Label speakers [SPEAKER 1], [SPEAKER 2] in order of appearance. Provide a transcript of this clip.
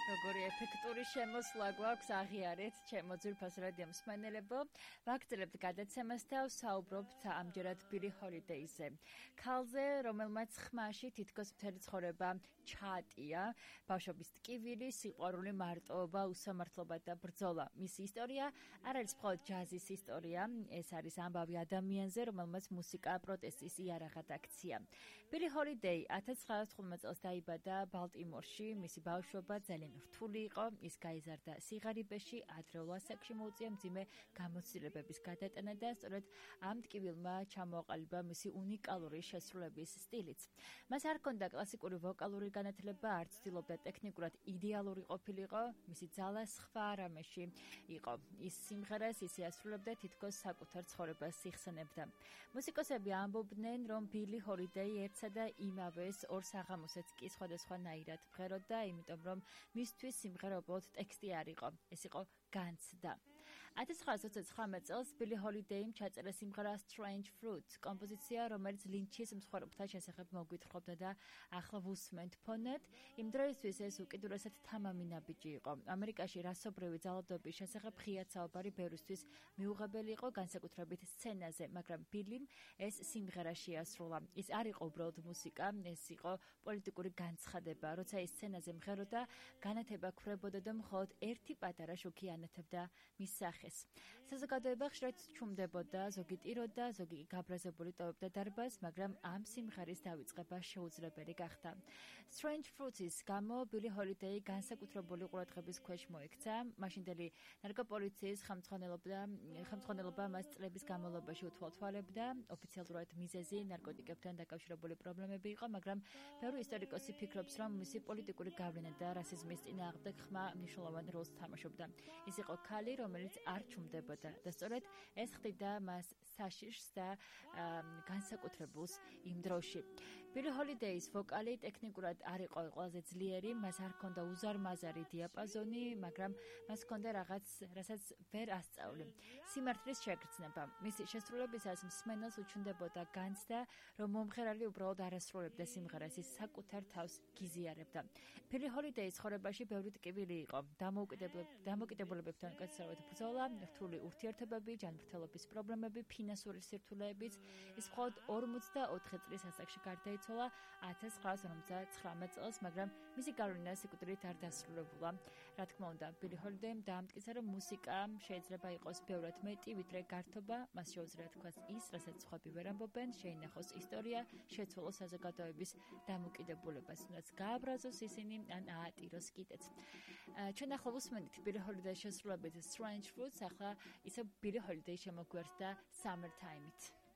[SPEAKER 1] როგორი ეფექტური შემოსვლა გვაქვს აღიარეთ ჩემო ძვირფას რადიო მსმენელებო. ვაგრძელებთ გადაცემას და ვსაუბრობთ ამჯერად ბილი ჰოლიდეიზე. ქალზე, რომელმაც ხმაში თითქოს მთელი ცხოვრება ჩაატია, ბავშვობის ტკივილი, სიყვარული, მარტოობა, უსამართლობა და ბრძოლა. მისი ისტორია არ არის მხოლოდ ჯაზის ისტორია, ეს არის ამბავი ადამიანზე, რომელმაც მუსიკა პროტესტის იარაღად აქცია. ბილი ჰოლიდეი 1915 წელს დაიბადა ბალტიმორში, მისი ბავშვობა ძალიან რთული იყო, ის გაიზარდა სიღარიბეში, ადრეულ ასაკში მოუწია მძიმე გამოცდილებების გადატანა და სწორედ ამ ტკივილმა ჩამოაყალიბა მისი უნიკალური შესრულების სტილიც. მას არ ჰქონდა კლასიკური ვოკალური განათლება, არ ცდილობდა ტექნიკურად იდეალური ყოფილიყო, მისი ძალა სხვა რამეში იყო. ის სიმღერას ისე ასრულებდა, თითქოს საკუთარ ცხოვრებას იხსენებდა. მუსიკოსები ამბობდნენ, რომ ბილი ჰოლიდეი ერთსა და იმავეს ორ საღამოსაც კი სხვადასხვანაირად მღეროდა, იმიტომ რომ მისთვის სიმღერა უბრალოდ ტექსტი არ იყო, ეს იყო განცდა. 1929 წელს ბილი ჰოლიდეიმ ჩაწერა სიმღერა Strange Fruit, კომპოზიცია, რომელიც ლინჩის მსხვერპლთა შესახებ მოგვითხრობდა და ახლა ვუსმენთ ფონად. იმ დროისთვის ეს უკიდურესად თამამი ნაბიჯი იყო. ამერიკაში რასობრივი ძალადობის შესახებ ღიად საუბარი ბევრისთვის მიუღებელი იყო, განსაკუთრებით სცენაზე, მაგრამ ბილიმ ეს სიმღერა შეასრულა. ის არ იყო უბრალოდ მუსიკა, ეს იყო პოლიტიკური განცხადება. როცა ის სცენაზე მღეროდა, განათება ქრებოდა და მხოლოდ ერთი პატარა შუქი ანათებდა მის სახეს. საზოგადოება ხშირად ჩუმდებოდა, ზოგი ტიროდა, ზოგი გაბრაზებული ტოვებდა დარბაზს, მაგრამ ამ სიმღერის დავიწყება შეუძლებელი გახდა. Strange Fruits-ის გამო ბილი ჰოლიდეი განსაკუთრებული ყურადღების ქვეშ მოექცა. მაშინდელი ნარკოპოლიციის ხელმძღვანელობა მას წლების განმავლობაში უთვალთვალებდა. ოფიციალურად მიზეზი ნარკოტიკებთან დაკავშირებული პრობლემები იყო, მაგრამ ბევრი ისტორიკოსი ფიქრობს, რომ მისი პოლიტიკური გავლენა და რასიზმის წინააღმდეგ ხმა მნიშვნელოვან როლს თამაშობდა. ის იყო ქალი, რომელიც არ ჩუმდებოდა და სწორედ ეს ხდიდა მას საშიშს და განსაკუთრებულს იმ დროში. ბილი ჰოლიდეის ვოკალი ტექნიკურად არ იყო ყველაზე ძლიერი, მას არ ჰქონდა უზარმაზარი დიაპაზონი, მაგრამ მას ჰქონდა რაღაც, რასაც ვერ ასწავლე. სიმართლის შეგრძნება. მისი შესრულებისას მსმენელს უჩნდებოდა განცდა, რომ მომღერალი უბრალოდ არ ასრულებდა სიმღერას, ის საკუთარ თავს გიზიარებდა. ბილი ჰოლიდეის ცხოვრებაში ბევრი ტკივილი იყო. დამოკიდებულებებთან კაცრავად ბრძოლა, რთული ურთიერთობები, ჯანმრთელობის პრობლემები, ფინანსური სირთულეებიც. ის მხოლოდ 44 წლის ასაკში გარდაიცვალა 1959 წელს, მაგრამ მისი გავლენა სიკვდილით არ დასრულებულა. რა თქმა უნდა, ბილი ჰოლიდეიმ დაამტკიცა, რომ მუსიკა შეიძლება იყოს ბევრად მეტი, ვიდრე გართობა, მას შეუძლია თქვას ის, რასაც სხვები ვერ ამბობენ, შეინახოს ისტორია, შეცვალოს საზოგადოების დამოკიდებულებას, თუნდაც გააბრაზოს ისინი, ან აატიროს კიდეც. ჩვენ ახლა ვუსმენთ ბილი ჰოლიდეის შესრულებით Strange Fruits, ახლა ისე ბილი ჰოლიდეი შემოგვიერთდა Summertime-ით.